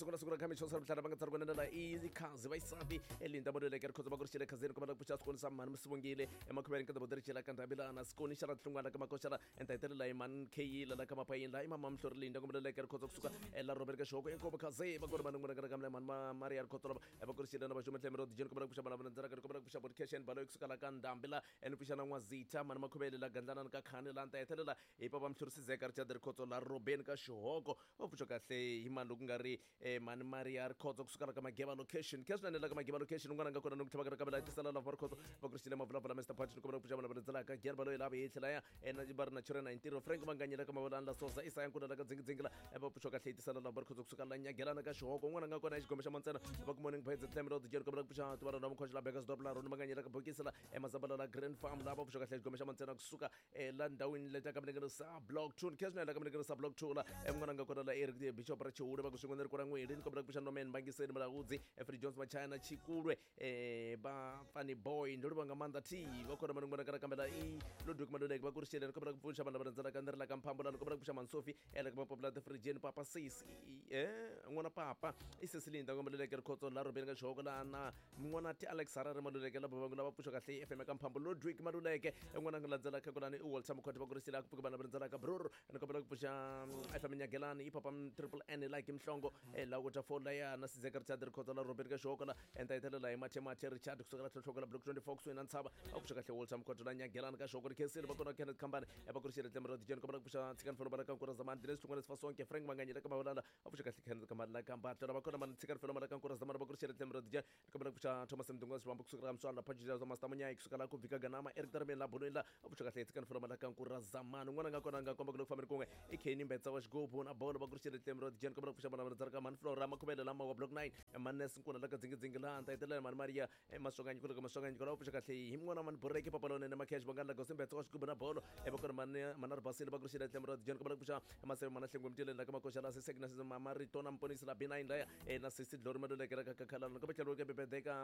Siku na siku ra khami xo sala mhlana va nga tsari kunene la i khazi va isati elinda modele ke rikhotso va ku ri xile khazeni kuma la ku pfuxa swikoni swa mhani musivongile emakhuveni ka tiboderi xela ka ndhabilana sikoni xa ra tlungwana ka makoxela enta hetelela hi mhani kheyila la ka mapayini la i mama mhlori linda kumbe leke rikhotso kusuka ela robert ka xihoko inkomo khazi va ku ri mani n'wana ka kamle mhani maria rikhotso lava va ku ri xile na va xuma tlhemero dijeni kuma la ku pfuxa vana va ndzela ka kuma la ku pfuxa podcast balo kusuka la ka ndhambi la ene pfuxa na n'wazitha mhani makhuvele la gandlana ka khani la nta hetelela hi papa mhlori sizeka richard rikhotso la robeni ka xihoko va pfuxa kahle hi mani loko nga ri mhani maria rikhotso kusuka la ka mageva location khe swinene la ka mageva location un'wana nga kona ni ku tlhava ka la tisela lava rikhotso va ku ri mavulavula mr patch ni kombela ku pfuxa vana va rindzelaka gere baloyi lava hi tlhela ya ena va ri na chirena hi ntirho frank manganyela ka mavolani la sosa isaya nkuna la ka dzingidzingi la va pfuxa kahle hi tisela lava rikhotso kusuka la nyagelana ka xihoko un'wana nga kona xigome xa mantsena va ku morning birds tlhemelo dijeri kombela ku pfuxa tivana na mukhoxo la bekasdorp la roni manganyela ka bokisi la emazambala la grand farm la va pfuxa kahle xigome xa mantsena kusuka la ndhawini leta ka minengeno sa block 2 khe swinene la ka minengeno sa block 2 la mun'wana nga kona la eric the bishop ra chihure va ku swin'we ni ri kona n'wini ni kombela ku pfuxa nomen bangiseni mulahudzi efrey jones machina chikulwe va funny boy ndo livha nga maanḓa t va khona mani n'wana kana kambe la i ludwig maluleke va ku ri xele ni kombela ku pfuxa vanhu lava rhandzelaka ni ri la ka mphambulani kombela ku pfuxa mansofi ela ka mapapula the frijeni papa sis n'wana papa i sesilinda nga maluleke rikhotso la rhobeni ka xihoko la na n'wana ti alex harare maluleke lava vangu lava pfuxa kahle fm ka mphambo ludwig maluleke n'wana nga landzela ka kulani i walter mukhoti va ku ri xele a ku pfuka vanhu lava rhandzelaka brur ni kombela ku pfuxa fm nyagelani i papa triple n like mhlongo la ku ta fola ya na sizeka richard rikhotso la rhobeni ka xihoko la enta hetelela hi mathe mathe richard kusukela tlhotlhoko la block 24 kusuhi na ntshava a pfuxa kahle walter mukhoto la nyagelani ka xihoko ri khensile va kona kenneth khambani va ku ri xile tlemo ra dijeni kombela ku pfuxa tshikani felo mala ka nkura zamani diles tlungwana sifa sonke frank manganyela ka mavolala a pfuxa kahle kenneth khambani la ka mbatlo va kona mani tshikani felo mala ka nkura zamani va ku ri xile tlemo ra dijeni kombela ku pfuxa thomas mdunga swivambo kusukela ka mswala phajija za master munyayi kusukela la ku vika ganama eric darmeni la bulweni la a pfuxa kahle tshikani felo mala ka nkura zamani un'wana nga kona nga komba ku loko fambeni kun'we i kenny mbetsa wa xigubu na bolo va ku ri xile tlemo ra dijeni kombela ku pfuxa vana va rhandzaka mani flora makhuvele lama wa block 9 manes nkuna la ka dzingidzingi laha ta hetelela mani maria maswanganyiko loko maswanganyiko lawa pfuxa kahle hi n'wana mani boreke papalonene makhesh vangani la gosi mbetsa wa xigubu na bolo va kona mani mana ri basile va ku ri xile tlemo ra dijeni kombela ku pfuxa maseve mana hlengwe mtileni la ka makoxa la sisek na marito na mponisi la b9 laya na sisi dlori maluleke la ka kakhalana kambe tlhelo ke bebedeka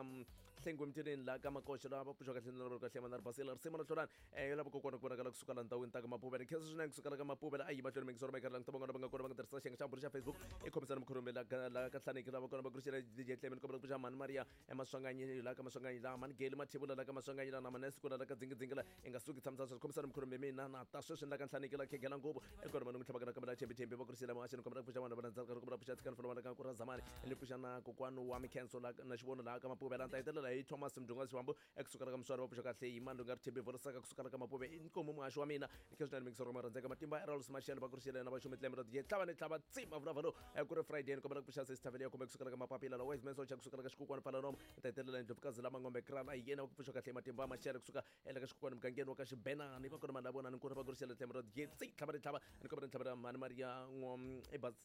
hlengwe mtileni la ka makoxa la va pfuxa kahle na kahle mana ri basile ri sima na hlolani lava kokwana ku vonakala kusuka la ndhawini ta ka mapuvela khensa swinene kusuka la ka mapuvela a yi mahlweni mingisoro ma ikarhi languta van'wana va nga kona va nga tirhisa xiyenge xa bulo xa facebook i khomisana mukhurume la la ka hlaneki lava kona va kurisela dj clement kombela ku pfuxa mhani maria emaswanganyi la ka maswanganyi la mhani geli mathebula la ka maswanganyi la na manesikula la ka dzingidzingi la i nga suki tshamisa sweswi khomisana mukhurume mina na ta sweswi la ka nhlaneki la khegela ngopfu ekona vanhu n'wi tlhavaka na kambe la chembichembi va kurisela muhaxeni kombela ku pfuxa vanhu va landzaka kombela ku pfuxa tshikani fana va ka ku ra zamani ni pfuxa na kokwani wa mikhenso la na xivono laha ka mapuvela ni ta hetelela hi thomas mdunga xiwambu ekusukela ka muswari va pfuxa kahle hi mani loyi nga ri thembi vorisaka kusukela ka mapuve i nkomo muhaxi wa mina khe swinene mingisoro ma rhandzeka matimba erals mashele va kurisile na vaxumi tlembe ra diye tlava ni tlava tsima vulavula lowu ku ri friday ni kombela ku pfuxa sesithavele ya kumbe kusukela ka mapapila la wise man socha kusukela ka xikukwana pfalanomo ni ta hetelela ndlopfukazi lama ngombe krala hi yena va ku pfuxa kahle matimba mashele kusuka ela ka xikukwana mugangeni wa ka xibenani va kona mani la vona ni nkuna va kurisile tlembe ra diye tsi tlava ni tlava ni kombela ni tlhavela mhani maria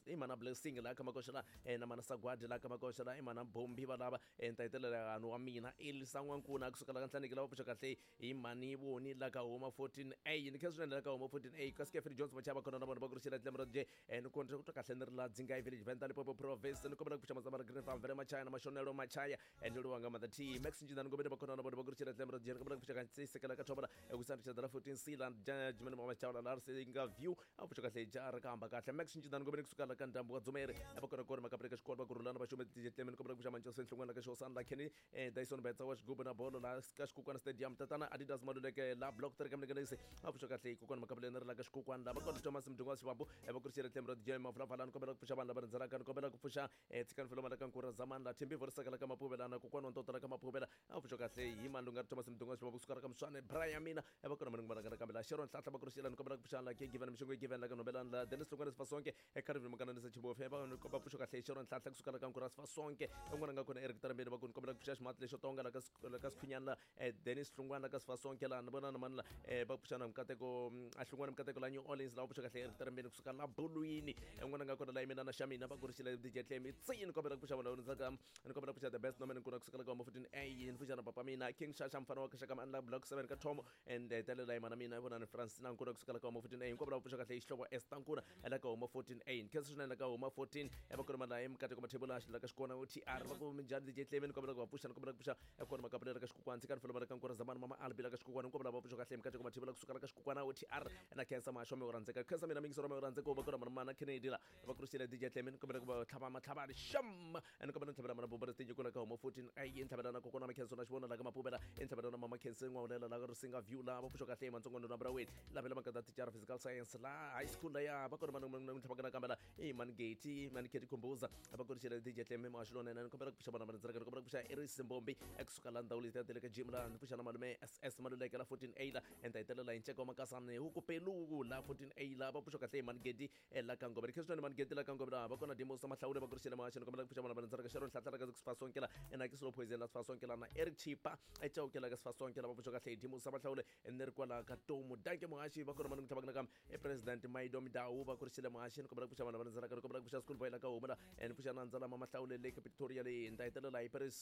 i mana blessing laha ka makoxa la na mana sagwadi laha ka makoxa la i mana bombi va lava ni ta hetelela vanhu wa mina elisa n'wankuna kusuka la ka nhlaneki lava pfuxa kahle hi mhani voni la ka huma 14 a ni khe swinene la ka huma 14 a kasi kefri jones machava kona na vona va ku rixela tlembe ra j ni kondza ku twa kahle ni ri la dzingai village venda limpopo province ni kombela ku pfuxa mazama ra green farm vele machaya na mashonelo machaya ni luwa nga maanḓa t max njinani ngobeni va kona na vona va ku rixela tlembe ra j ni kombela ku pfuxa ka sekela ka thobela ekusani richard ra 14 c la jimani mama chawla la ri nga view a pfuxa kahle ja ri ka hamba kahle max njinani ngobeni kusuka la ka ndhambu wa dzumeri va kona kona makapele ka xikolo va ku rhulana va xume dj tlemeni kombela ku pfuxa mancoso enhlongweni la ka xihosana la kenny dyson betsa wa xigubu na bolo la ka xikukwana stadium tatana adidas maluleke la block 3 ka minengenese a pfuxa kahle kokwana makapele ni ri la ka xikukwana la va kona thomas mdungu wa xivambu va ku ri xile tlhelo ra dj mavulavalani kombela ku pfuxa vanhu lava rhandzelaka ni kombela ku pfuxa tshikani felo mala ka nkura zamani la thembi vorisaka la ka mapuvela na kokwana wa ntoto la ka mapuvela a pfuxa kahle hi mani lunga ri thomas mdungu wa xivambu kusuka ra ka muswane brian mina va kona mani ngumana kambe la sharon nhlahla va ku ri xile ni kombela ku pfuxa la ke given mixongo given la ka nhombelani la dennis hlongwane sifasonke ecarvin mukananisa chibofe va va pfuxa kahle sharon nhlahla kusuka la ka nkura sifasonke un'wana nga kona eric tarambeni va ku ni kombela ku pfuxa ximati lexo tonga la ka la ka sikhunyana la dennis hlongwane la ka sifasonke la ni vona na mani la va pfuxa na mukateko a hlongwane mukateko la new orleans la va pfuxa kahle eric tarambeni kusuka la bulwini un'wana nga kona la yimina na xa mina va ku ri xile dj tlemi tsi ni kombela ku pfuxa vanhu ndzaka ni kombela ku pfuxa the best nomene nkuna kusuka la ka homa 14 a ni pfuxa na papa mina king shasha mfana wa kaxaka mani la block 7 ka thomo and hetelela yimana mina vona ni francina nkuna kusuka la ka homa 14 a hinkwavo lava pfuxa kahle xihlovo esta nkuna la ka homa 14 a ni khensa swinene la ka homa 14 va kona mani la emukateko mathebula la ka xikona tr va ku minjhani dj tlemi ni kombela ku va pfuxa ni kombela ku pfuxa kona makapulela ka xikukwana tshikani felo ka nkura zamani mama albi la ka xikukwana hinkwavo lava pfuxa kahle emukateko mathebula kusuka la ka xikukwana tr na khensa mahasho mi rhandzeka khensa mina mingisoro mi rhandzeka va kona mani mana kheneni. Kennedy la va kurisiwile DJ Tlemin kombela ku va tlhava matlhavani xam and kombela ntlhavela mana bubela tinyi kula ka homo 14 ai ntlhavela na kokwana Makhenso na xivona la ka mapuvela ntlhavela na mama Khensi n'wawulela la ka Risinga View la va pfuxa kahle matsongo na Braweni lavela makata tichara physical science la high school la ya va kona mana ntlhavaka na kambela i mani Gate mani Keti Khumbuza va kurisiwile DJ Tlemin maxilona na kombela ku pfuxa vana va ndzaka kombela ku pfuxa Iris Mbombi ekusuka la ndhawu leti ya le ka gym la ni pfuxa na malume SS Maluleke la 14A la enta hetelela hi nceka wa makasani huku pelu la 14A la va pfuxa kahle hi mani Gedi la ka Ngobeni kheswani mani Gedi la ka Ngobeni va kona Demos Mahlawule va kurisiwile maxini kombela ku pfuxa vana va ndzaka Sharon Hlahla ka Sifasonke la ena ke Slow Poison la Sifasonke la na Eric Chipa echauke la ka Sifasonke la va pfuxa kahle hi Demos Mahlawule ni ri kwala ka Tomu danke muhaxi va kona mani tlhavaka na kam e president Maido Midau va kurisiwile muhaxi kombela ku pfuxa vana va ndzaka kombela ku pfuxa school boy la ka Huma la ni pfuxa na ndzala Mahlawule le ka Pretoria le nta hetelela hi Paris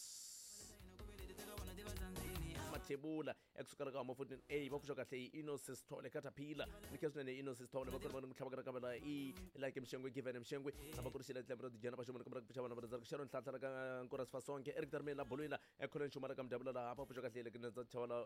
Mathebula ekusukela ka homa 14A va pfuxa kahle hi Innocent Sithole Caterpillar ni khe swinene Innocent Sithole va kona va tlhavaka na kambela i like Mshengwe Given Mshengwe va kurisiwile tlembe ra dijana va xomoni kombela ku pfuxa vana va ndzaka Sharon Nhlanhla la ka Nkora Sifasonke Eric Darmeni la Bolweni la eKholweni Xuma la ka Mdabula la va pfuxa kahle le nandza chavala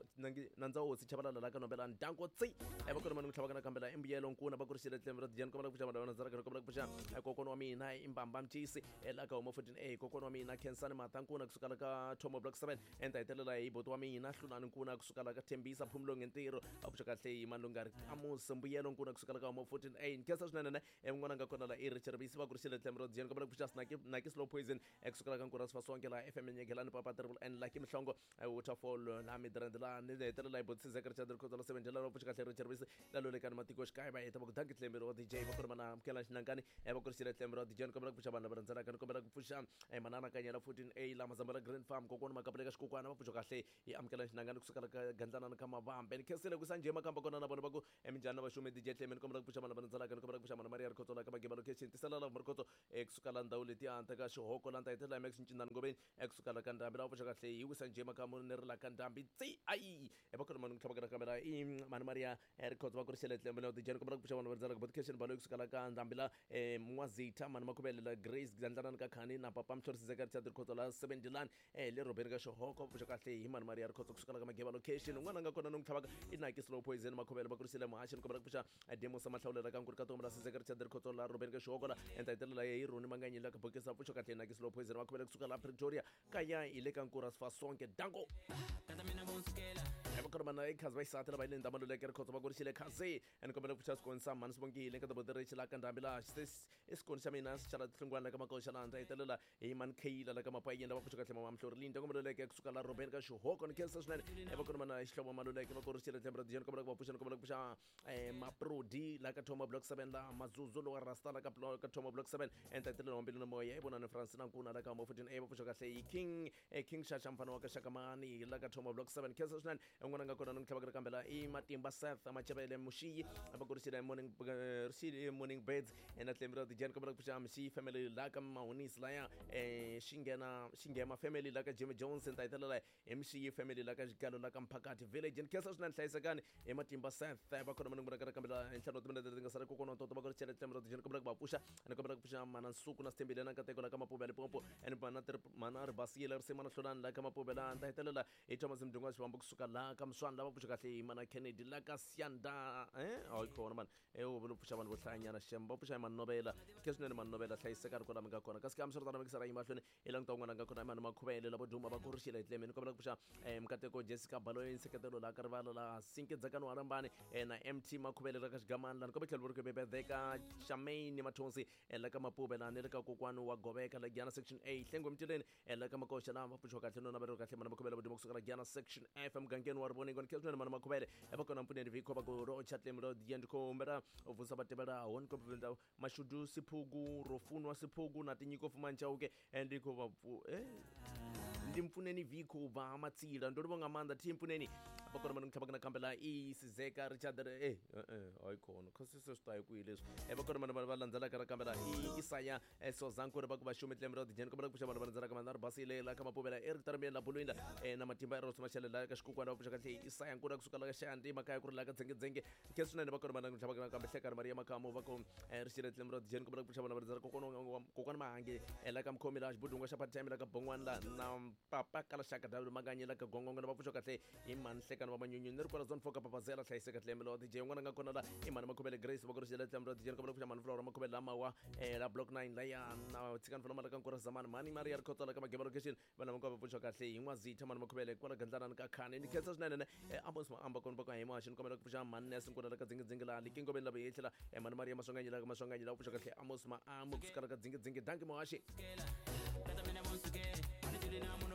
nandza hosi Chabalala la ka Nombela Ndanko tsi va kona va tlhavaka na kambela i Mbuyelo Nkuna va kurisiwile tlembe ra dijana kombela ku pfuxa vana va ndzaka kombela ku pfuxa kokwana wa mina i Mbamba Mtisi la ka homa 14A kokwana wa mina Khensani Mata Nkuna kusuka la ka Thomo Block 7 enta hetelela hi boti wa mina Hlulani Nkuna kusuka la ka Thembisa Phumulong ntirho a pfuxa kahle hi Malungari Amos Mbuyelo Nkuna kusuka la ka homa 14A nkhensa swinene ne un'wana nga kona la i Richard Bisi va kurisiwile tlembe ra dijana kombela ku pfuxa Snaki Naki Slow Poison kusuka la ka Nkura Sifasonke la FM Nyegelani Papa Triple N Lucky Mhlongo Waterfall la Midrand la ni hetelela hi boti Sizeka Richard Rikhotso la 7 la pfuxa kahle Richard Bisi la lolekani matiko xikaya va heta va ku danki tlembe ra DJ va kona mana amukela xinankani va kurisiwile tlembe ra DJ kombela ku pfuxa vanhu lava rhandzelaka ni kombela ku pfuxa manana Kanyela 14A la Mazambala Green Farm kokwana Makapuleka xikokwana va pfuxa kahle hi amukela xinankani kusuka la ka Gandlanana ka Mavambe ni khensile ku sanje makamba kona na vona va ku minjhani na vaxumi DJ Tlembe ni kombela ku pfuxa vanhu lava rhandzelaka ni kombela ku pfuxa mana Maria Rikhotso la ka Mageba location tisela la Rikhotso kusuka la ndhawu letiya ta ka Xihoko la nta hetelela hi Max Ncindani Ngobeni kusuka la ka Ndhambi la va pfuxa kahle hi wisa njhe makamu ni ri la ka Ndhambi tsi ayi va kona mani ku tlhavaka na kamera i mani Maria Rikhotso va kurisiwile tlembe la DJ ni kombela ku pfuxa vanhu va rhandzelaka Botcation Baloyi kusuka la ka Ndhambi la N'wazitha mani Makhuvele la Grace Gandlanani ka Khani na Papa Mhlorisi Zeka Richard Rikhotso la 7 Dilani le Robeni ka Xihoko pfuxa kahle hi mani Maria Rikhotso kusuka la ka Mageba location un'wana nga kona ni n'wi tlhavaka i Naki Slow Poison Makhuvele va kurisiwile muhaxi ni kombela ku pfuxa Demos Mahlawule la ka Nkuri ka Tomu la Sizeka Richard Rikhotso la Robeni ka Xihoko la enta hetelela hi Roni Manganyi la ka Bokisa pfuxa kahle hi Naki Slow Poison Makhuvele kusuka la Pretoria kaya hi le ka Nkura Sifasonke danko va kona mana i khazi va xisati lava yi le Ndhamaluleke Rikhotso va kurisiwile khazi ni kombela ku pfuxa swikoni sa mhani Sibongile ka Tobodirichi la ka Ndhambi la i xikoni xa mina xi xala tinhlungwana la ka Makoxa la ndza hetelela hi mani Kheyila la ka Mapayeni lava pfuxa kahle mama Mhlori Linda kombeleleke kusuka la Robeni ka Xihoko ni khensa swinene va kona mana Xihlovo Maluleke va kurisiwile tlembe ra dijeni kombela ku va pfuxa ni kombela ku pfuxa Maprodi la ka Thoma Block 7 la Mazuzu lowa Rasta la ka Thoma Block 7 enta hetelela wa mbilu na moya i vonani Francina Nkuna la ka Homa 14A va pfuxa kahle hi King King Xaxa mfana wa ka Xakamani la ka Thoma Block 7 khensa swinene un'wana nga kona ni n'wi tlhavaka kambe la i Matimba Seth Machavele Mushiyi va kurisiwile morning risile morning birds na tlembe ra dijeni kombela ku pfuxa Mshiyi family la ka Mahunisi laya xinghena xinghema family la ka Jimmy Jones ta hetelela hi Mshiyi family la ka Xigalo la ka Mphakati village ni khensa swinene hlayisekani hi Matimba Seth va kona mani ku kambe la ntlhanu wa timinete leti nga sala kokwana ntoto va kurisiwile tlembe ra dijeni kombela ku va pfuxa ni kombela ku pfuxa mana Nsuku na Sithembile na Nkateko la ka Mapuve ya Limpopo and mana mana Ribasile Risima na Hlulani la ka Mapuve la ta hetelela hi Thomas Mdungu wa Xivambu kusuka la ka Mswani lava pfuxa kahle hi mana Kennedy la ka Siyanda hayi kona mani u vula pfuxa vanhu vo hlayanyana xem va pfuxa hi Manovela ke swinene Manovela hlayiseka ri kwala mi nga kona kasi ka hambiswiritano mikisara yi mahlweni i languta un'wana nga kona mani Makhuvele lavo duma va kurixile hi tlemeni kombela ku pfuxa Mkateko Jessica Baloyi nseketelo la ka rivala la Sinke Dzakani wa Rambani na MT Makhuvele la ka Xigamani lani kombe tlhelo ri bebedeka Shamaine Mathonsi la ka Mapuve lani le ka kokwani wa Goveka la Giyana section A Hlengwe Mtileni la ka Makoxa la va pfuxiwa kahle nona va ri kahle mana Makhuvele voduma kusuka la Giyana section F emugangeni wa Rivoningo ni swinene mana Makhuvele va kona mpfuneni vikho va ku ro chatlemi ro diya ndi khou humbela u vusa vha tevhelaho ni khou Mashudu Siphugu Rofunwa Siphugu na Tinyiko Fumanchauke ndi khou vha ndi Mpfuneni Vikho u bva ha Matsila ndo livha nga maanḓa thi Mpfuneni vha kona mani tlhavha kana kambela i Sizeka Richard hayi khona khosi se swi ta hi kwihi leswi va kona mani va landzelaka ra kambela i Isaya Sozankuri va ku vaxumi tlembe ra dijeni kombela ku pfuxa vanhu va landzelaka mana ri basile la ka Mapuvela Eric Tarameni la Bulwini la na Matimba Eros Mashele la ka Xikukwana va pfuxa kahle Isaya Nkuna kusuka la ka Xayandi makaya ku ri la ka Dzengedzenge khe swinene va kona mana tlhava kana kambe Hlekani Maria Makamu va ku rixile tlembe ra dijeni kombela ku pfuxa vanhu va landzelaka kokwana kokwana Mahange la ka Mkhomi la Xibudunga xa Part-time la ka Bongwana la na Papa Kalaxaka W Makanyi la ka Gongongo va pfuxa kahle hi mani Hlekani. Tsekani va manyunyu ni ri kwala zone 4 ka Papazela hlayiseka tlemelo DJ un'wana nga kona la i mhani Makhuvele Grace va ku ri xela tlemelo DJ kombela ku pfuxa mhani Flora Makhuvele lamawa la block 9 laya na tshikani fana mala ka nkura zamani mhani Maria Rikhotso la ka Mageba location vana va va pfuxa kahle hi n'wazitha mhani Makhuvele kwala gandlanani ka khani ni khensa swinene ne Amos Maamba kona va ka hi maxi ni kombela ku pfuxa mhani Ness nkuna la ka dzingidzingi la likingoveni la vuyehlela mhani Maria Maswanganyi la ka Maswanganyi la pfuxa kahle Amos Maamba kusuka la ka dzingidzingi danki muhaxi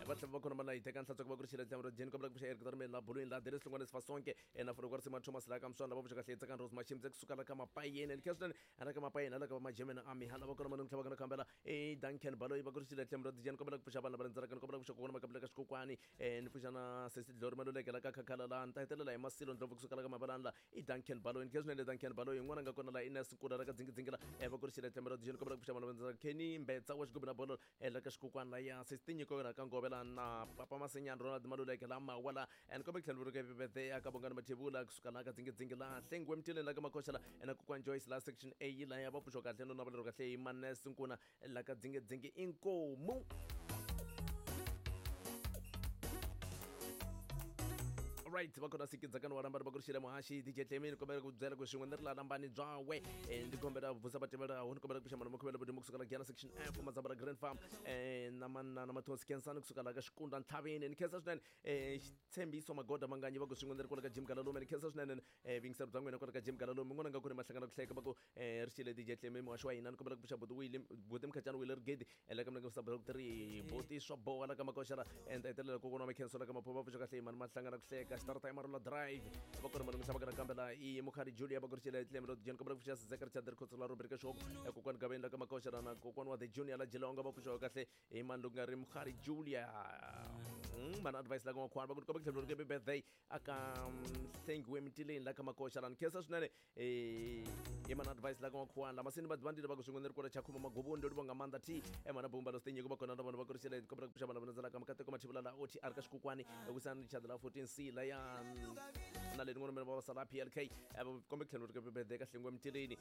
va tlhela va khona va la hi teka nhlatswa ku va ku ri xile tlemelo jeni kombela ku pfuxa Eric Tarmeni la bulwini la Dennis Hlongwane Sifasonke na Folo Kwarisima Thomas la ka Mswana va pfuxa kahle Tsakani Rose Machimdze kusuka la ka Mapayeni ni khensa swinene hala ka Mapayeni hala ka va Majemena Army hala va kona manungu tlhela va kona khambela e Duncan Baloyi va ku ri xile tlemelo jeni kombela ku pfuxa vanhu lava rindzelaka ni kombela ku pfuxa kokwana Makabula ka Xikokwani ni pfuxa na Sesi Dlori Maluleke la ka Khakhala la ni ta hetelela hi Masilo Ndlovu kusuka la ka Mabalani la i Duncan Baloyi ni khensa swinene Duncan Baloyi yin'wana nga kona la Ines Nkuna la ka Dzingidzingi la va ku ri xile tlemelo jeni kombela ku pfuxa vanhu lava rindzelaka Kenny Mbetsa wa Xigubu na Bolo la ka Xikokwani la ya Sesi Tinyiko la ka Ngove la na Papa Masenyani Ronald Maluleke la Mawa la and kombe ku tlhela vuriwa happy birthday aka Bongani Mathebula kusuka la ka Dzingidzingi la Hlengiwe Mtileni la ka Makoxa la na Kokwani Joyce la section A la ya va pfuxiwa kahle no naveleriwa kahle hi Manes Nkuna la ka Dzingidzingi inkomu. Right va kona sikidzakani wa lambani va ku ri xile muhaxi DJ Tlemini kombela ku byela ku swin'we ni ri la lambani byawe ndzi kombela vusa vativelaho ni kombela ku pfuxa mhani Makhuvele Vudumo kusuka la Giyani section F Mazambala Grand Farm na manana Mathonsi Khensani kusuka la ka Xikunda Ntlhaveni ni khensa swinene Xitshembiso Magoda Manganyi va ku swin'we ni ri kwala ka Jim Galalume ni khensa swinene vuyingiseri bya n'wina kwala ka Jim Galalume n'wana nga ku ri mahlangana ku hleka va ku ri xile DJ Tlemi muhaxi wa hina ni kombela ku pfuxa buti Willie buti Mkhacani Willie Rigedi la ka mina ka block 3 buti swa boha la ka makoxa la and hetelela kokwana wa Mikhenso la ka Maphuma va pfuxa kahle mani mahlangana ku hleka xitarata ya Marula Drive va kona malungisa va kana kambe la i Mukhari Julia va ku ri xile Tlemi lo DJ ni kombela ku pfuxa Zachary Chadri Khotso la Rubrika Shoko kokwana Gaveni la ka makoxa la na kokwana wa The Junior la Jilonga va pfuxa kahle hi mani loko nga ri Mukhari Julia mani advice la ka N'wakhwani va ku ni kombela ku tlhela happy birthday aka Hlengiwe Mtileni la ka makoxa la ni khensa swinene i mana advice la ka N'wakhwani lama seni vadivandile va ku swin'we ni ri kwala Chakhuma Maguvuni ndo livonga Mandla T mana Bumba lo Stenyiko va kona na vona va ku ri xile kombela ku pfuxa vanhu va landzelaka Mikateko Mathivula la OTR ka Xikokwani ekusani Richard la 14C la ya na le rin'wana va sala PLK kombe ku tlhela ri happy birthday ka Hlengiwe Mtileni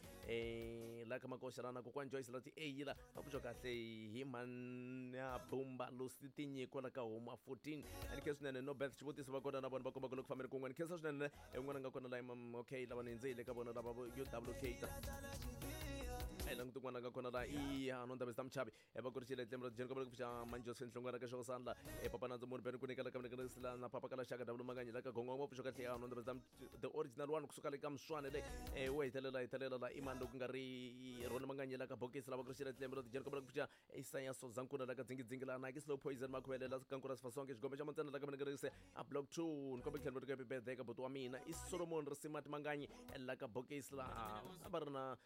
la ka makoxa la na kokwani Joyce la ti A la va pfuxa kahle hi mana Bumba Lucy Tinyiko la ka Huma 14 ni khensa swinene no Beth xivutiso va kona na vona va komba ku loko fambeni kun'we ni khensa swinene un'wana nga kona la okay lava ni hindzile ka vona lava UWK ta a hi languti un'wana nga kona la i no ndaba ta muchavi va ku ri xile tlemelo jeni kombela ku pfuxa Manjos Nhlongwana ka Xosandla papa Nandzu Munhu Beni ku nyika la ka mina sila na papa kala xaka W Manganyi la ka Gongongo va pfuxa kahle no ndaba ta the original one kusuka le ka Mswane le wo hetelela hetelela la imani loko nga ri Roni Manganyi la ka Bokisi la va ku ri xile tlemelo jeni kombela ku pfuxa Isaya Sozankuna la ka Dzingidzingi la Nike Slow Poison Makhuvele la Kankura Sifasonke xigombe xa Mantsena la ka mina rise a block 2 ni kombela ku tlhela happy birthday ka buti wa mina i Solomon Risimati Manganyi la ka Bokisi la a va ri na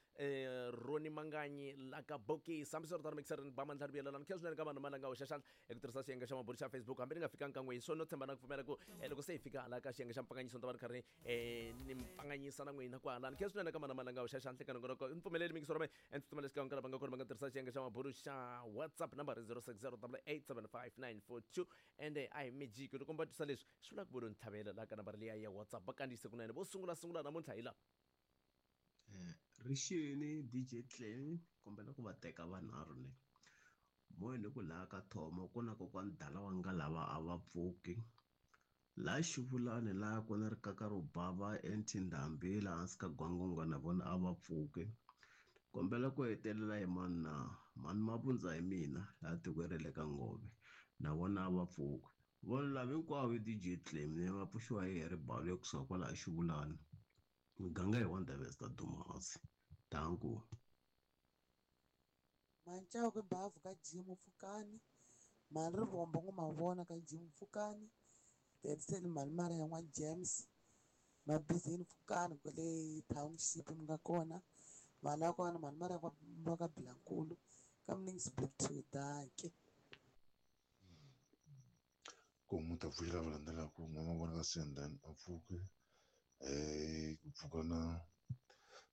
Roni Manganyi la ka Bokisi hambiswiritano mixer ni ba mandla ri vuyelelana khensa swinene ka vanhu malanga hoxa xandla hi ku tirhisa xiyenge xa mabulu xa Facebook hambi ni nga fikanga kan'we hi swona no tshemba na ku pfumela ku loko se hi fika hala ka xiyenge xa mpfanganyiso ni ta va ni karhi ni mpfanganyisa na n'wina kwahalani khensa swinene ka mana malanga hoxa xandla ka nongonoko ni pfumeleli mingiso ra mina and tsutsuma lexi ka lava nga kona va nga tirhisa xiyenge xa mabulu xa WhatsApp number 0608875942 ende a hi magic loko mi va twisa leswi swi vula ku vo lo ni tlhavela laha ka nambara liya ya WhatsApp va kandziyise kunene vo sungula sungula namuntlha hi la Rixini DJ Clem kombela ku va teka vanharhu ne moyeni ku laha ka Thomo ku na kokwani dala wa nga lava a va pfuki laha Xivulani laha ku na rikaka ro bava eNtindhambi laha hansi ka Gwangwangwa na vona a va pfuki kombela ku hetelela hi mani na mani Mavundza hi mina laha tikweni ra le ka Ngove na vona a va pfuki vona lava hinkwavo DJ Clem ne va pfuxiwa hi Harry kusuka kwalaha Xivulani muganga hi wa Ndabezitha Dumasi danko. Mancaku bavu ka Jim Pfukani mali rivombo ngo mavona ka Jim Pfukani Tetseni mali mara ya n'wa James Mabizini Pfukani kwale township mi nga kona mali ya kona mali mara ya ka Bilankulu ka Mnings Block 2 danke. Ku mu ta pfuxela va landzelaka n'wana vona ka Sendani a pfuke ku pfuka na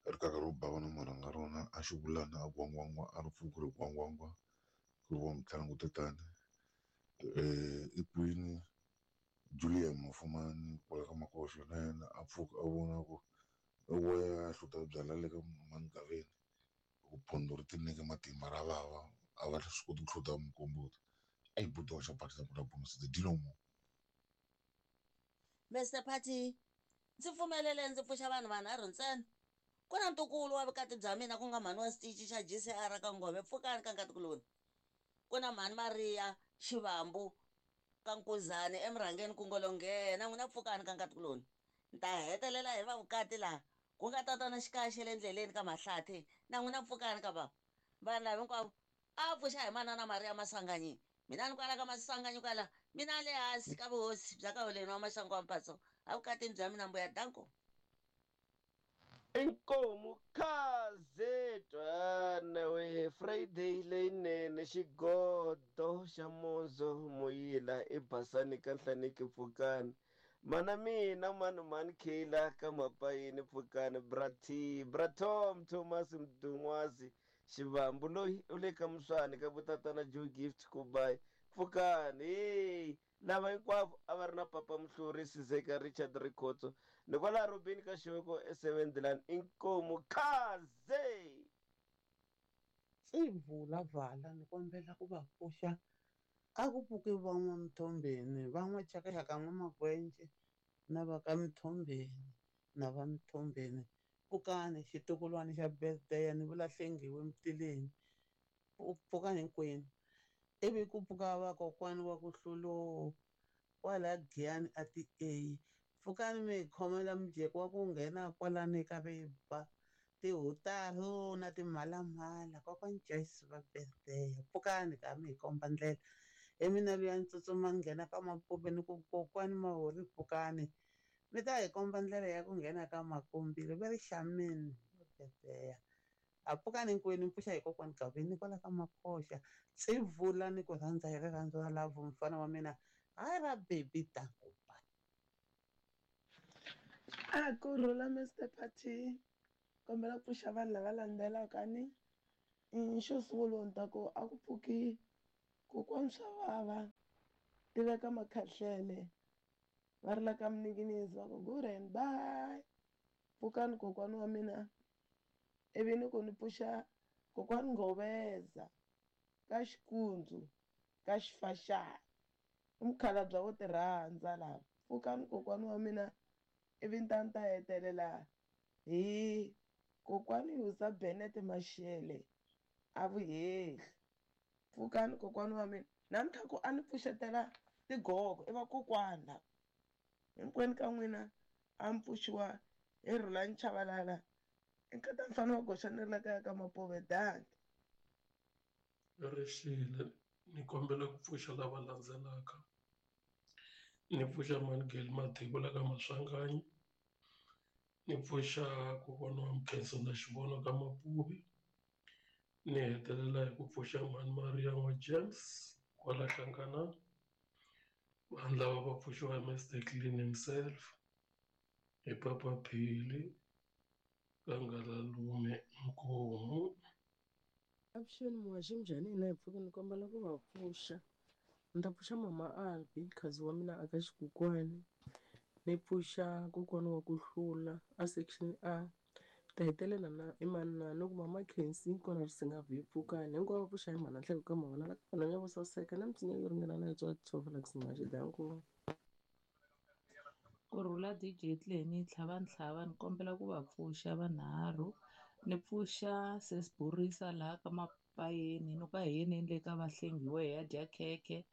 rikaka ro bava na marhanga rona a Xivulana a gwangwangwa a ri pfuki ri gwangwangwa ku ri wa mutlangu tatani i kwini Julia Mafumani kwala ka Makoxo na yena a pfuka a vona ku wo ya hluta byala le ka Mangaveni ku phondo ri tinike matimba ra vava a va swi koti ku hluta mukomboto a yi buti wa xapati ku la bonus the dinomo. Mr Party, ndzi pfumelele ndzi pfuxa vanhu vanharhu ntsena. Ku na ntukulu wa vukati bya mina ku nga mhani wa xitichi xa GCR ka Ngove, pfukani ka nkatikuloni. Ku na mhani Maria Xivambu ka Nkuzani emurhangeni ku ngolonghena, n'wina pfukani ka nkatikuloni. Ni ta hetelela hi va vukati laha ku nga tatana Xikaxe le ndleleni ka Mahlathi, na n'wina pfukani ka bava. Vanhu lava hinkwavo a pfuxa hi manana Maria Maswanganyi. Mina ni kwala ka Maswanganyi kwala, mina le hansi ka vuhosi bya ka Holeni wa Maxangu wa Mphatso, evukatini bya mina mbuya danko. Inkomu khaze twana we Friday leyinene xigodo xa Monzo Muyila ebasani ka Nhlaniki Pfukani mana mina mani mani Kayla ka Mapayini Pfukani bra T bra Tom Thomas Mdun'wazi Xivambu loyi u le ka Muswani ka vutatana Joe Gift Kubayi Pfukani hey Lava hinkwavo a va ri na Papa Muhluri, Sizeka Richard Rikhotso ni kwalaha Robeni ka Xiveko eSevendlani. Inkomu Khaze! Tsivula vala ni kombela ku va pfuxa a ku pfuki va N'wa-Mthombeni va N'wa-Chakaxaka N'wa-Magwenje na va ka Mthombeni na va Mthombeni pfukani xitukulwana xa birthday ni vula Hlengiwe Mtileni pfukani hinkwenu. Ivi ku pfuka vakokwani wa ku hluloo kwala Giyani a ti A pfukani mi hi khomela mujeko wa ku nghena kwalani ka riba tihutaro na timhalamhala kokwani Joyce va birthday pfukani ka mi hi komba ndlela hi mina luya ni tsutsuma ni nghena ka Mapuve ni ku kokwani Mahori pfukani mi ta hi komba ndlela ya ku nghena ka Makumbile va ri xameni va birthday. A pfukani hinkwenu mi pfuxa hi kokwani Gaveni kwala ka Makhoxa. Tsivula ni ku rhandza hi rirhandzu ra love mfana wa mina hayi ra baby danko bye. A ku rhula Mister Party kombela ku pfuxa vanhu lava landzelaka ni xo sungula ni ta ku a ku pfuki kokwani swa vava tiveka makhahlele va ri la ka Mninginisi va ku good and bye pfukani kokwani wa mina ivi ni ku ni pfuxa kokwani Nghoveza ka Xikundzu ka Xifaxana i mukhalabye wo ti rhandza lava pfukani kokwani wa mina ivi ni ta ni ta hetelela hi kokwani Yusa Bennett Mashele a Vuhehli pfukani kokwani wa mina namuntlha ku a ni pfuxetela tigogo i vakokwani lava hinkwenu ka n'wina a mi pfuxiwa hi Rhulani Chavalala i nkata mfana wa goxa ni ri la kaya ka Mapove danki. Rixile ni kombela ku pfuxa lava landzelaka ni pfuxa Manigeli Mathebula ka Maswanganyi ni pfuxa kokwana wa Mkhensa na Xivono ka Mapuve ni hetelela hi ku pfuxa mhani Maria n'wa James kwala Hlanganani vanhu lava va pfuxiwa hi Mister Clean himself hi Papa Phili ka Ngalalume Nkomu. Avuxeni muhaxi minjhani hina hi pfuke ni kombela ku va pfuxa ni ta pfuxa mama Albi khazi wa mina aka xikukwani ni pfuxa kokwana wa ku hlula a section A ta hetelela na i mani na ni ku mama Khensi kona risinga vhi pfukani hinkwavo va pfuxa hi mhana nhleko ka mavona la ka vana vo saseka na misinya yo ringana na yo tswala tshovela ku muhaxi danko. Kurhula DJ Clenny Tlhavantlhava ni kombela ku va pfuxa vanharhu ni pfuxa sis Borisa laha ka Mapayeni ni ku a hi yeni le ka Vahlengiwe hi ya dya khekhe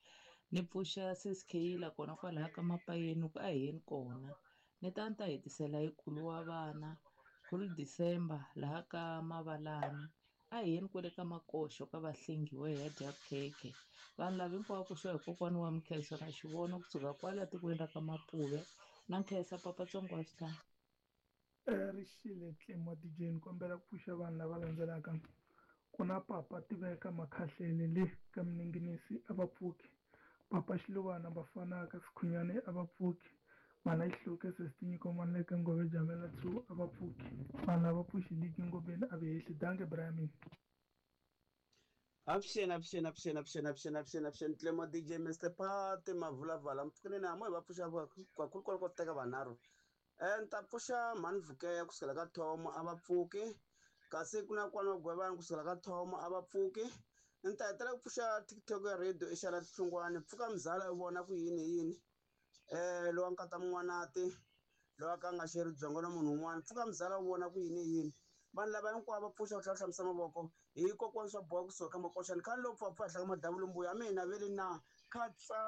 ni pfuxa sis Kheyila kona kwalaha ka Mapayeni ni ku a hi yeni kona ni ta ni ta hetisela hi khulu wa vana khulu December laha ka Mavalani a hi yeni kwale ka Makoxo ka Vahlengiwe hi ya dya khekhe vanhu lava hinkwavo pfuxiwa hi kokwana wa Mkhensa na Xivono kusuka kwala tikweni ra ka Mapuve na Nkhensa papa tsongo wa swihlahla. Rixile Clem wa DJ ni kombela ku pfuxa vanhu lava landzelaka ku na papa Tiveka Makhahlele le ka Mninginisi a va pfuki papa Xiluvana Bafana ka Sikhunyane a va pfuki Mhana Xihluke Sesi Tinyiko Manleke Ngove Jamela 2 a va pfuki vanhu lava pfuxi ligi Ngobeni a ve hehli danke Brian. Avuxeni avuxeni avuxeni avuxeni avuxeni avuxeni avuxeni Clemo DJ Mr Party Mavulavala mpfukineni a mo hi va pfuxa kakhulu kwala ko teka vanharhu ni ta pfuxa mhani Vhukeya kusukela ka Thomo a va pfuki kasi ku na kwala Gwevani kusukela ka Thomo a va pfuki ni ta hetelela ku pfuxa TikTok ya radio i xala Hlungwani pfuka mzala u vona ku yini yini. Lowa nkata Mun'wanati lowa ka nga xeri byongo na munhu un'wana pfuka muzala wu vona ku yini yini vanhu lava hinkwavo va pfuxa ku tlhela hlambisa mavoko hi kokwani swa boha kusuka ka makoxani khale lowu pfapfa henhla ka madavulu mbuya mina vele na khatsa.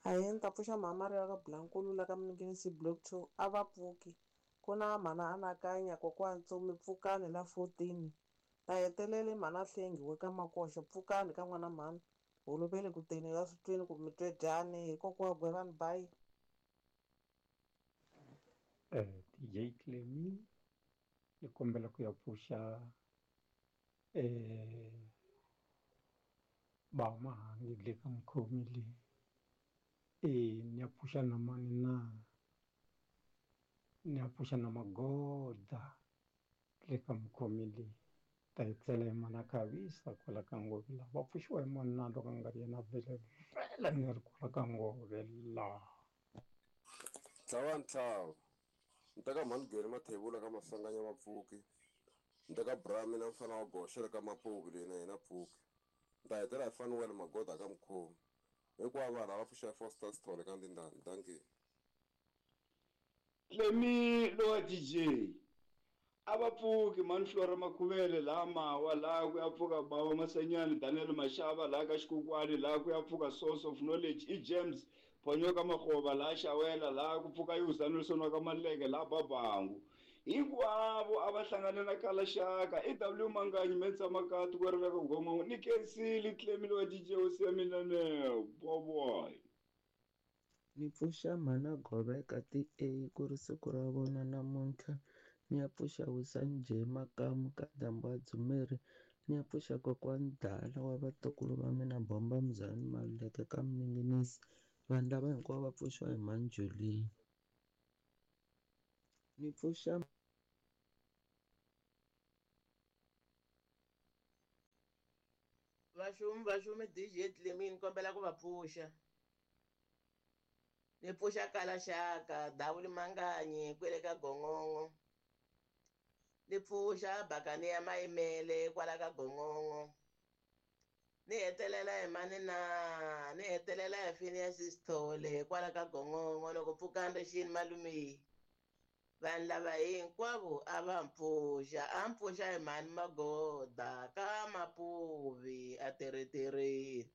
Ahee, ni ta pfuxa mhama ri ka Blankulu la ka Mninginisi block 2 a va pfuki ku na mhana anakanya kokwani Ntsumi pfukani la 14 ta hetelele mhana hlengiwe ka makoxa pfukani ka n'wana mhani holovele ku teni la swi twini ku mi twe dyani hi kokwa Gwevani bayi. DJ Clemy ni kombela ku ya pfuxa ba Mahangi le ka mukhomi le ni ya pfuxa na mani na ni ya pfuxa na Magoda le ka mukhomi le ta hi tlela hi mana Khavisa kwala ka Ngove la va pfuxiwa hi mani na loko a nga ri yena vele vele ni ri kwala ka Ngove la. Tlhava ntlhava ni teka mhani Geri Mathebula ka Masanganya Mapfuki ni teka Brami na mfana wa Goxa ka Mapuvi leyi na yena Pfuki ni ta hetelela hi Fanuel Magoda ka Mukhomi hinkwavo vanhu lava pfuxa Foster Sithole ka Ndindani dankie. Clemy lowa DJ a va pfuki mhani Flora Makhuvele laha Mawa laha ku ya pfuka Bava Masanyani Daniel Mashava laha ka Xikokwani laha ku ya pfuka Source of Knowledge i James Phonyoka Makgoba laha Xawela laha ku pfuka Yusa Nelson wa ka Maluleke laha Babangu hinkwavo a va hlangane na Kalaxaka i W Manganyi Mentsa Makati ku ri ka Gongongo ni Kensile Clemy lowa DJ hosi ya mina ne boboy. Ni pfuxa mhana Goveka ti A ku ri siku ra vona namuntlha ni ya pfuxa Wisani J Makamu ka Dambu wa Dzumeri ni ya pfuxa kokwani Dala wa vatukulu va mina Bomba Mzani Maluleke ka Mninginisi vanhu lava hinkwavo va pfuxiwa hi mhani Julie. Ni pfuxa Vaxumi DJ Clemy ni kombela ku va pfuxa. Ni pfuxa Kalaxaka Davuli Manganyi kwele ka Gongongo. Ni pfuxa Bakani ya Mayimele kwala ka Gongongo. Ni hetelela hi mani na ni hetelela hi Phineas Sithole kwala ka Gongongo loko pfukani rixini malume. Vanhu lava hinkwavo a va mpfuxa a mpfuxa hi mhani Magoda ka Mapuvi a teretereni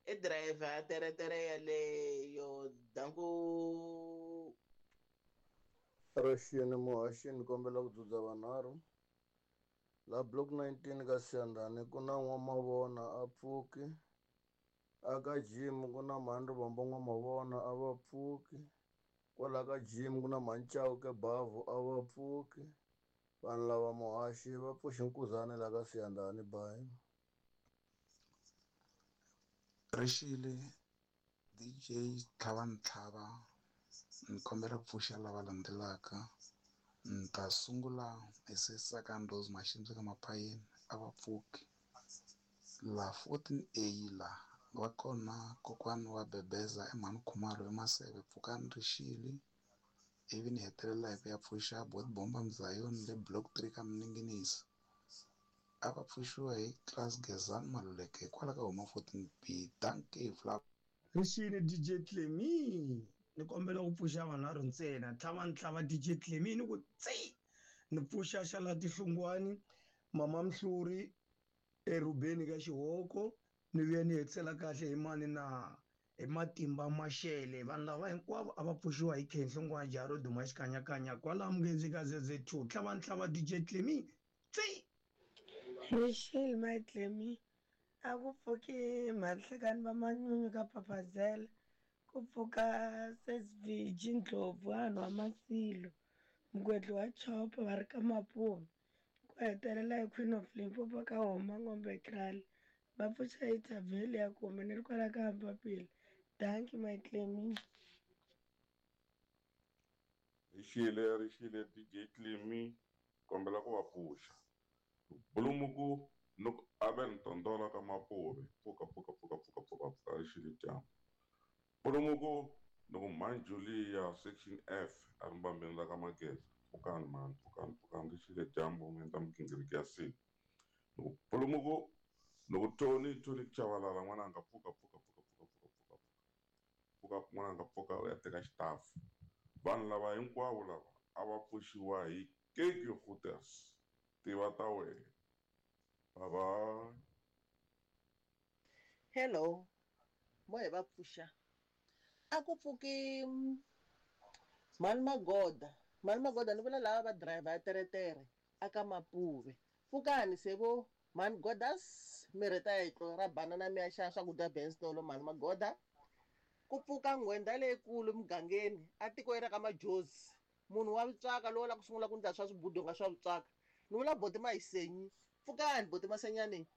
i driver a teretere yaleyo danku. Rixini muhaxini kombela ku dzudza vanharhu la block 19 ka Siyandhani ku na N'wamavona a pfuki aka gym ku na mhani Rivombo N'wamavona a va pfuki kwala ka gym ku na mhani Chauke Bavhu a va pfuki vanhu lava muhaxi va pfuxi nkuzane la ka Siyandhani bayi. Rixile DJ Tlhava Ntlhava ni kombela ku pfuxa lava landzelaka ni ta sungula hi Sesaka Rose Mashimba ka Mapayeni a va pfuki la 14A la va kona kokwani wa Bebeza i mhani Khumalo eMaseve pfukani rixile ivi ni hetelela hi ku ya pfuxa Bot Bomba Mzayoni le block 3 ka Mninginisi a va pfuxiwa hi Class Gezani Maluleke hikwalaho ka huma 14B dankie Flap. Rixile DJ Clemy ni kombela ku pfuxa vanharhu ntsena tlhava ntlhava DJ Clemy ni ku tsi ni pfuxa xala Tihlungwani mama Mhluri erubeni ka Xihoko ni vuya ni hetisela kahle hi mani na hi Matimba Mashele vanhu lava hinkwavo a va pfuxiwa hi Khenhlongwana Jaro Duma xikanyakanya kwala Mungezi ka ZZ2 tlhava ntlhava DJ Clemy tsi. Rixile my Clemy a ku pfuki Mahlekani va Manyunyu ka Papazela ku pfuka SSV Jindlovu vanhu wa Masilo Mugwedli wa Chopa va ri ka Mapuve ku hetelela hi Queen of Limpopo ka Homa Ngombe Kraal va pfuxa hi Thavheli ya kume ni ri kwala ka Mpapila dankie my Clemy. Rixile rixile DJ Clemy kombela ku va pfuxa Bulumuku loko Abel Ntondola ka Mapuve pfuka pfuka pfuka pfuka pfuka pfuka rixile dyambu Bulumuku loko mhani Julia section F a ri mbambeni la ka Mageza pfukani mhani pfukani pfukani rixile dyambu mi endla migingiriko ya siku loko Bulumuku Loko Tony Tony Chavalala n'wananga pfuka pfuka pfuka pfuka pfuka pfuka pfuka pfuka n'wananga pfuka u ya teka xitafu. Vanhu lava hinkwavo lava a va pfuxiwa hi Keke Hooters tiva ta wena. Bye bye. Hello, mo hi va pfuxa. A ku pfuki mhani Magoda, mhani Magoda ni vula lava va driver ya teretere a ka Mapuve. Pfukani se vo mhani Godas mi rheta yetlo ra banana mi ya xava swakudya Benstolo mhani Magoda. Ku pfuka nghwendha leyikulu mugangeni a tikweni ra ka Majozi. Munhu wa vutswaka lowo la ku sungula ku ndla swa swibudonga swa vutswaka. Ni vula boti Mayisenyi. Pfukani boti Masenyani.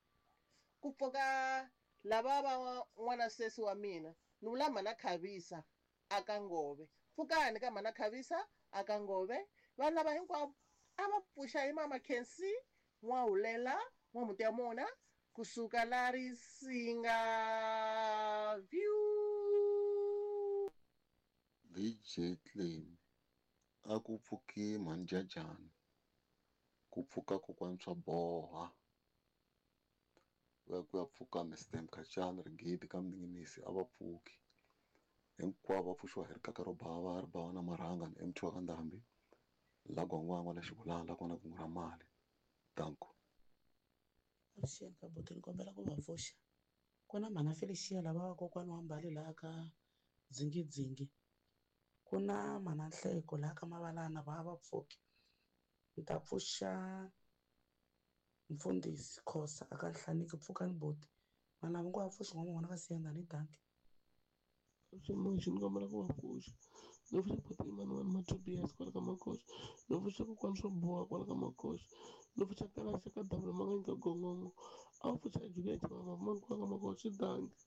Ku pfuka lava va n'wana sesi wa mina. Ni vula mhana Khavisa a ka Ngove. Pfukani ka mhana Khavisa a ka Ngove. Vanhu lava hinkwavo a va pfuxa hi mama Khensi N'wahulela N'wamuti ya mona kusuka la Risinga View. DJ Claim a ku pfuki mhani Jajani ku pfuka kokwani swa boha ku ya ku ya pfuka Mr Mkhacani Rigidi ka Mninginisi a va pfuki hinkwavo va pfuxiwa hi rikaka ro bava ri bava na marhanga ni MT wa ka Ndhambi la Gwangwangwa la Xibulana la kona kungu ra mali danko. Avuxeni ka buti ni kombela ku va pfuxa ku na mhana Felicia lava va kokwani wa Mbali laha ka Dzingidzingi ku na mhana Nhleko laha ka Mavalana va va pfuki ni ta pfuxa mfundhisi Khosa aka Nhlaniki pfukani buti vanhu lava ngo va pfuxi n'wana ka Siyanda ni danki. Ximoxi ni kombela ku va pfuxa ni pfuxa buti Emmanuel Matobias kwala ka Makoxa ni pfuxa kokwani swo boha kwala ka Makoxa ni pfuxa Kalaxa ka Dabula Manganyi ka Gongongo a wu pfuxa Juliet Mavamani kwala ka Makoxa danki.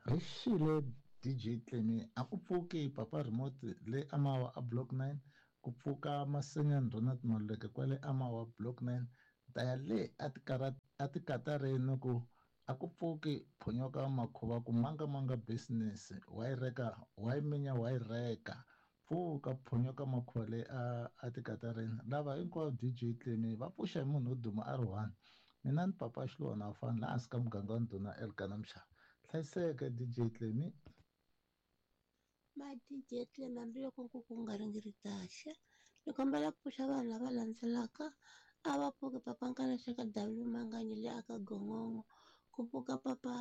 Ri xile DJ Tlemi a ku pfuki papa remote le Amawa a block 9 ku pfuka Masenyani Ronald Maluleke kwale Amawa block 9 ta ya le a tikatareni ku a ku pfuki phonyoka makhuva ku manga manga business wa yi reka wa yi minya wa yi reka pfuka phonyoka makhuva le a tikatareni lava hinkwavo DJ Tlemi va pfuxa hi munhu wo duma a ri one mina ni papa Xiluva fani laha hansi ka muganga wa ndhuna Elkana Mshana hlayiseka DJ Tlemi. Ma DJ Tlemi hambiloko nkuku wu nga ringiritaxe ni kombela ku pfuxa vanhu lava landzelaka a va pfuki papa Nkalaxa ka W Manganyi le aka Gongongo ku pfuka papa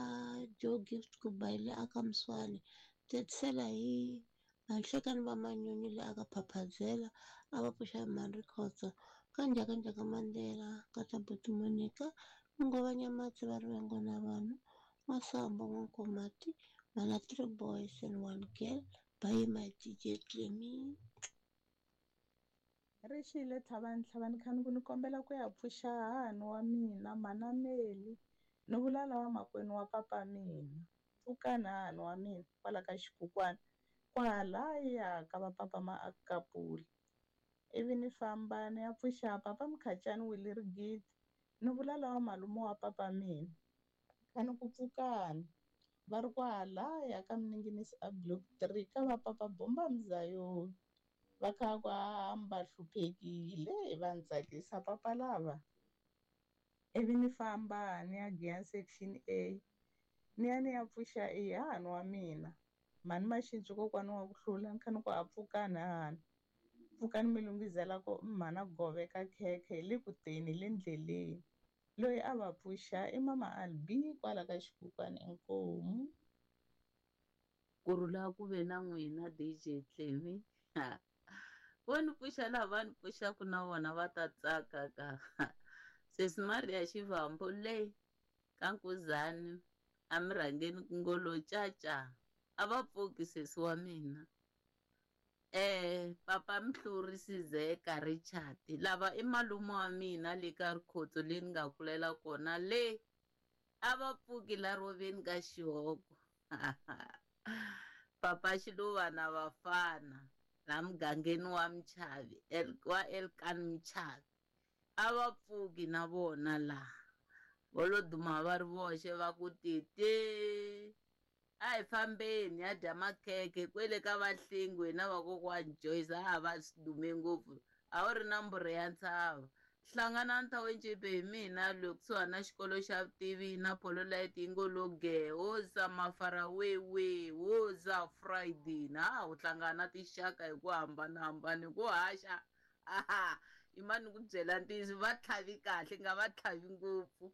Joe Gift Kubayi le aka Mswani tetisela hi Vanhlekani va Manyunyu le aka Phaphazela a va pfuxa hi Mhani Rikhotso ka Njhakanjhaka Mandela ka Tabuti Monica Ngova Nyamatsi va Rivengo na vanhu N'wasambo N'wankomati mana 3 boys and 1 girl bye my DJ Tlemi. Ri xile Tlhavani Tlhavani khani ku ni kombela ku ya pfuxa hahani wa mina mhana Meli ni vula lava makwenu wa papa mina pfukani hahani wa mina kwala ka xikukwani kwalaya ka va papa Maakapula ivi ni famba ni ya pfuxa papa Mkhacani Willie Rigidi ni vula lava malume wa papa mina khani ku pfukani va ri kwalaya ka Mninginisi a block 3 ka va papa Bomba Mzayoni va kha ku hamba hluphekile va ni tsakisa papa lava ivi ni famba ni ya Giyani section A ni ya ni ya pfuxa hahani wa mina mhani Maxintswi kokwani wa ku hlula ni kha ni ku a pfukani hahani pfukani mi lunghizela ku mhana Gove ka khekhe hi le ku teni hi le ndleleni loyi a va pfuxa i mama Albi kwala ka xikukwani inkomu. Kurhula ku ve na n'wina DJ Tlemi vo ni pfuxa laha va ni pfuxaku na vona va ta tsaka ka sesi Maria Xivambu le ka Nkuzani a mi rhangeni ku ngolo caca a va pfuki sesi wa mina papa Mhluri Sizeka Richard lava i malume wa mina le ka Rikhotso le ni nga kulela kona le a va pfuki la roveni ka xihoko papa Xiluva na vafana la mugangeni wa Mchavi wa Elkan Mchavi a va pfuki na vona laha vo lo duma va ri voxe va ku tete a hi fambeni ya dya makhekhe kwele ka Vahlengwe na vakokwani Joyce a va swi dume ngopfu a wu ri na mbhurhi ya ntshava Hlanganani Township hi mina loyi kusuhani na xikolo xa vutivi na polo light yi ngo lo ge hoza mafarawewe hoza Friday na u hlangana na tinxaka hi ku hambanahambana hi ku haxa aha i mani ku byela ntiyiso va tlhavi kahle nga va tlhavi ngopfu.